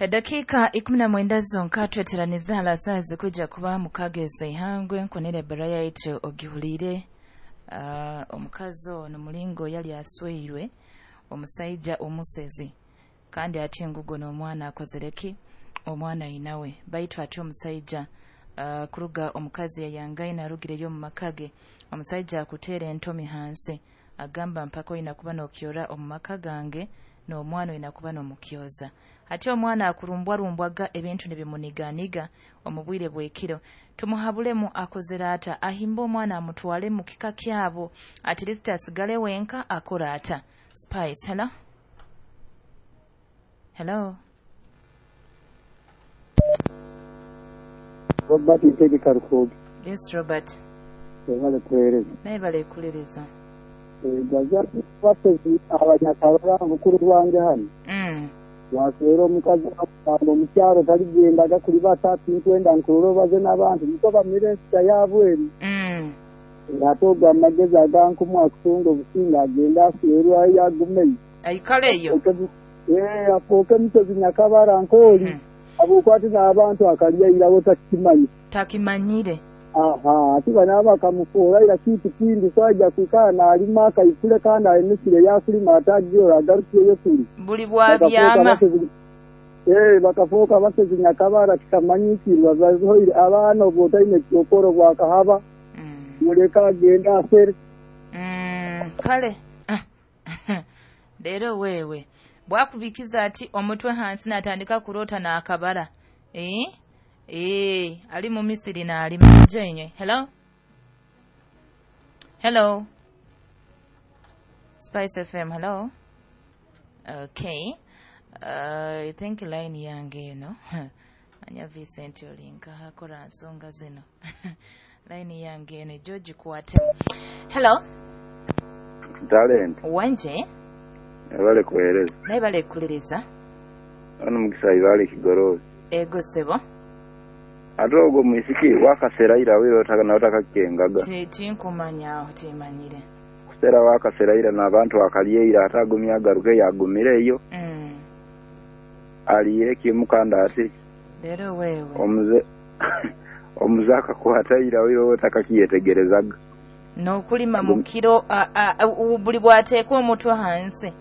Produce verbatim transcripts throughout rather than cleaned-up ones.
Edakika ikumi na mwenda zonka tweteraniza hala saa zikuja kuba mukageza ihangwe nkonere bara yaitu ogihulire. Uh, omukazi ono mulingo yali asweirwe omusaija omusezi kandi ati ngugo n'omwana akozereki omwana inawe baitu ati omusaija uh, kuruga omukazi yayangaine arugireyo mu makage omusaija akuteera entomi hansi agamba mpaka oyina kuba n'okyora omu maka gange n'omwana oyina kuba n'omukyoza. Ati omwana akurumbwarumbwaga ebintu nibimuniganiga omu bwire bw'ekiro. Tumuhabulemu akozere ata ahimba omwana amutwale mu kika kyabo at least asigale wenka akora ata. Spice, hello? Hello? Robert Ntege Karukoge. Yes, Robert. Webale kuweereza. Naye bale kulereza. Gaza basezi abanyakarora mukuru wange hano. Mm. Waswera omukazi akugamba omukyaro taligendaga kuli batatu nkwenda nkurora baze n'abantu niko bamire ensita yabweru. Mm. Ate ogwo amagezi agankumu akutunga obusinga agenda aswerwa yagumeyo. Aikaleyo. Eh, afuuke musezi nyakabara nkooli. Mm. Abukwati n'abantu akalya irawo takimanyi. Takimanyire. Aha, ati bano bakamufuura ira kitu kindi so ajja kwikara n'alima akaikule kandi ayimisire yakulima atagiora agarukiyeyo kuli. Buli bwabyama. Eh, bakafuuka basezi nyakabara kikamanyikirwa bazoire abaana obwo otaine kyokoro bwakahaba. Mm. Muleka agenda asere. Mm, kale. Leero wewe bwakubikiza ati omutwe hansi natandika kurota n'akabara. Eh? Eh, ali mu Misiri n'alima. Joinywe. Hello? Hello? Spice F M, hello? Okay. Uh, I think line yange eno. Anya Vincent olinka akora nsonga zino. Line yange eno George kwate. Hello? Talent. Wanje? Ebale kuhereza. Naye bale kulereza. Ono mukisa ibale kigorozi. Ego sebo. Ate ogwo mwisiki wakasera ira wiro otaka na otakakengaga. Ti tinkumanya aho timanyire. Kusera wakasera ira n'abantu akalyeira ate agumya agaruke yagumireyo. Mm. Aliye kimukanda ati. Leero wewe. Omuze omuze akakwata ira wiro otakakiyetegerezaga. N'okulima mu kiro buli bw'ateeka omutwe hansi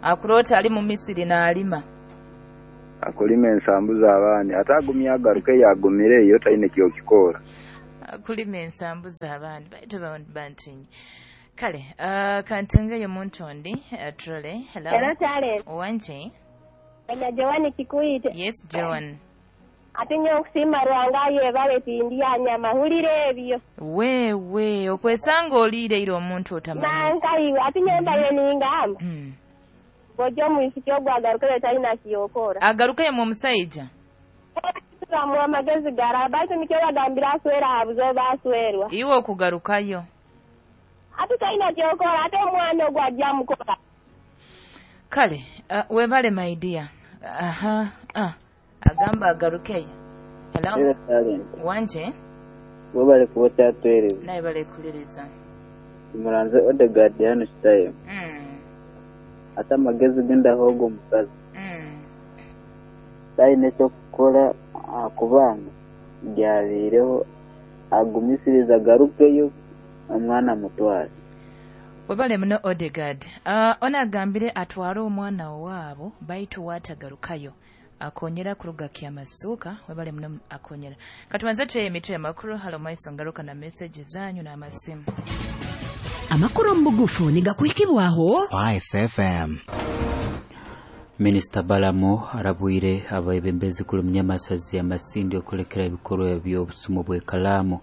akulota ali mu Misiri n'alima. Akulima ensambu z'abaani ate agumya agaruke yagumireyo taine kyokikora. Akulima ensambu z'abaani baitu bantinyi. Kale uh, kantungeyo muntu ondi uh, trole. Hello. Hello Talent. Wanje. Ena Joan Kikuite. Yes Joan. Ate nnyo okusiima Rwanga yeebale tindya nyama hulira ebyo. Wewe okwesanga oliire ira omuntu otamanyi. Nankaiwe ate nnyo mbaye ningamba. Mm. Bw'ojja omwisiki ogwo agarukeyo talina kyokora. Agarukeyo mu omusajja? Turamuwa amagezi gara baitu nikyo bagambira aswera abuze oba aswerwa. Iwe okugarukayo. Ate talina kyokora ate omwana ogwo ajja mukola. Kale uh, webale my dear. Aha ah. Agamba agarukeyo. Hello. Wanje? Webale kuba okyatwereza. Naye bale kulereza. Muranze Odegaard hano Kitayo. Mm. Ate amagezi gendaho ogwo omukazi. Mm. Talina ekyokukora kubanga byabiireho agumisiriza agarukeyo omwana amutware. Webale muno Odegaard. Uh, ono agambire atware omwana waabo baitu waatagarukayo. Akonyera kuruga kyamasuka webale muno akonyera. Katubanze tuye emitwe y'amakuru halo maiso ngaruka na message zanyu n'amasimu. Amakuru mu bugufu nigakuhikibwaho Spice F M. Minisita Balamu arabwire abaebembezi kuli munyamasazi amasindi okulekera ebikorwa by'obusumu bw'ekalaamu.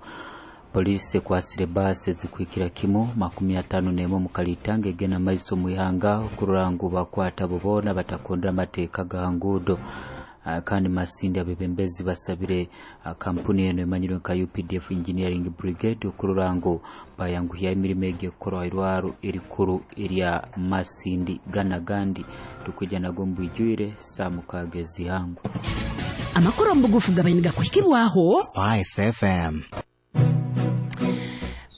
Polisi ekwasire baasi ezikwikira kimu makumi atano n'emwe mu Kalitanga egenda maiso mu ihanga okurora ngu bakwata abo boona batakondera amateeka ga nguudo. Uh, kandi Masindi abebembezi basabire uh, kampuni eno emanyirwe nka U P D F Engineering Brigade okurora ngu bayanguhya emirimo egi ekukorwa irwaro erikuru erya Masindi Gana Gandi. Tukwija nago mbwijwire saa mukaaga ezihangu. Amakuru mu bugufu gabaye nigakuhikibwaho Spice F M.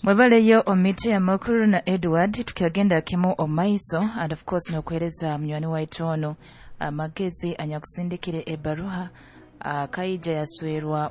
Mwebaleyo omiti ya makuru na Edward tukiagenda kimu omaiso and of course nokuhereza munywani waitu ono Amagezi anyakusindikire ebaruha akaija yaswerwa.